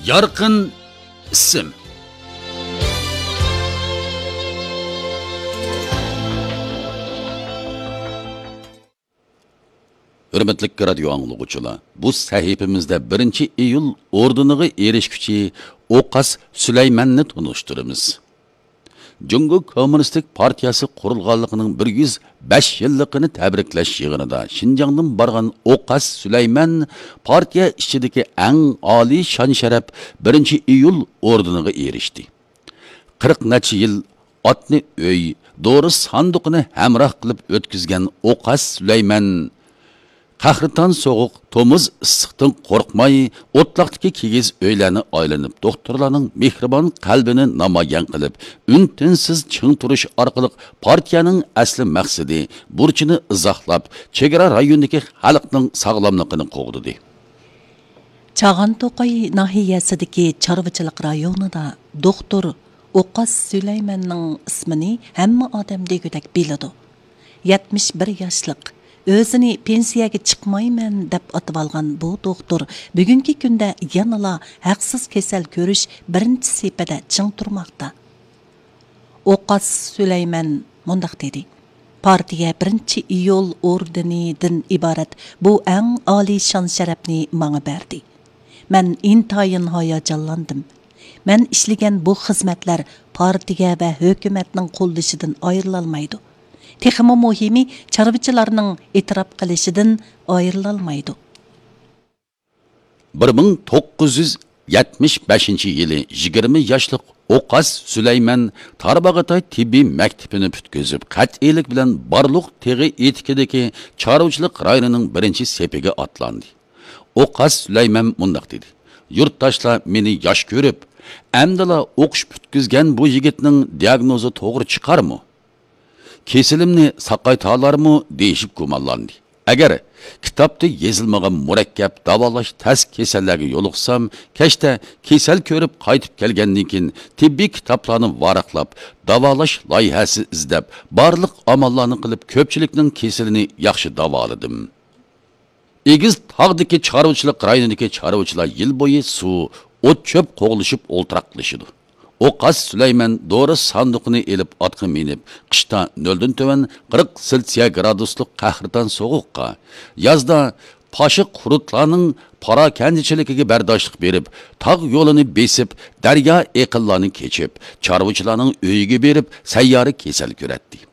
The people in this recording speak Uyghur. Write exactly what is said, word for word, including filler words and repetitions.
يارقىن ئىسىم. ھۆرمەتلىك رادىيو ئاڭلىغۇچىلار، بۇ سەھىپىمىزدە بىرىنچى ئىيۇل ئوردېنىغا ئېرىشكۈچى ئوقاس سۈلەيماننى تونۇشتۇرىمىز. جۇڭگو كوممۇنىستىك پارتىيەسى قۇرۇلغانلىقىنىڭ بىر يۈز بەش يىللىقىنى تەبرىكلەش يىغىنىدا شىنجاڭدىن بارغان ئوقاس سۈلەيمان پارتىيە ئىچىدىكى ئەڭ ئالىي شان-شەرەپ بىرىنچى ئىيۇل ئوردېنىغا ئېرىشتى. قىرىق نەچچە يىل ئاتنى ئۆي، دورا ساندۇقىنى ھەمراھ قىلىپ ئۆتكۈزگەن ئوقاس سۈلەيمان قەھرىتان سوغۇق، تومۇز ئىسسىقتىن قورقماي، ئوتلاقتىكى كىگىز ئۆيلەرنى ئايلىنىپ، دوختۇرلارنىڭ مېھرىبان قەلبىنى نامايان قىلىپ، ئۈن-تىنسىز چىڭ تۇرۇش ئارقىلىق پارتىيەنىڭ ئەسلى مەقسىتى، بۇرچىنى ئىزاھلاپ، چېگرا رايونىدىكى خەلقنىڭ ساغلاملىقىنى قوغدىدى. چاغان توقاي ناھىيەسىدىكى چارۋىچىلىق رايونىدا دوختۇر ئوقاس سۈلەيماننىڭ ئىسمىنى ھەممە ئادەم دېگۈدەك بىلىدۇ. يەتمىش بىر ياشلىق، ئۆزىنى پېنسىيەگە چىقمايمەن دەپ ئاتىۋالغان بۇ دوختۇر بۈگۈنكى كۈندە يەنىلا ھەقسىز كېسەل كۆرۈش بىرىنچى سېپىدە چىڭ تۇرماقتا. ئوقاس سۈلەيمەن مۇنداق دېدى: پارتىيە بىرىنچى ئىيۇل ئوردېنىدىن ئىبارەت بۇ ئەڭ ئالىي شان-شەرەپنى ماڭا بەردى. مەن ئىنتايىن ھاياجانلاندىم. مەن ئىشلىگەن بۇ خىزمەتلەر پارتىيە ۋە ھۆكۈمەتنىڭ قوللىشىدىن ئايرىلالمايدۇ. تېخىمۇ مۇھىمى، چارۋىچىلارنىڭ ئېتىراپ قىلىشىدىن ئايرىلالمايدۇ. بىر مىڭ توققۇز يۈز يەتمىش بەشىنچى يىلى يىگىرمە ياشلىق ئوقاس سۈلەيمەن تارباغاتاي تېببىي مەكتىپىنى پۈتكۈزۈپ، قەتئىيلىك بىلەن بارلۇق تېغى ئېتىكىدىكى چارۋىچىلىق رايونىنىڭ بىرىنچى سېپىگە ئاتلاندى. ئوقاس سۈلەيمەن مۇنداق دېدى: يۇرتداشلار مېنى ياش كۆرۈپ، ئەمدىلا ئوقۇش پۈتكۈزگەن بۇ يىگىتنىڭ دىئاگنوزى توغرا چىقارمۇ؟ كېسىلىمنى ساقايتالارمۇ دېيىشىپ گۇمانلاندى. ئەگەر كىتابتا يېزىلمىغان مۇرەككەپ داۋالاش تەس كېسەللەرگە يولۇقسام، كەچتە كېسەل كۆرۈپ قايتىپ كەلگەندىن كېيىن تېببىي كىتابلارنى ۋاراقلاپ، داۋالاش لايىھەسى ئىزدەپ، بارلىق ئاماللارنى قىلىپ، كۆپچىلىكنىڭ كېسىلىنى ياخشى داۋالىدىم. ئېگىز تاغدىكى چارۋىچىلىق رايونىدىكى چارۋىچىلار يىل بويى سۇ، ئوت-چۆپ قوغلىشىپ ئولتۇراقلىشىدۇ. ئوقاس سۈلەيمەن دورا ساندۇقىنى ئېلىپ ئاتقا مىنىپ، قىشتا نۆلدىن تۆۋەن قىرىق سېلسىيە گرادۇسلۇق قەھرىتان سوغۇققا، يازدا پاشا قۇرتلارنىڭ پاراكەندىچىلىكىگە بەرداشلىق بېرىپ، تاغ يولىنى بېسىپ، دەريا ئېقىنلارنى كېچىپ، چارۋىچىلارنىڭ ئۆيىگە بېرىپ، سەييارە كېسەل كۆرەتتى.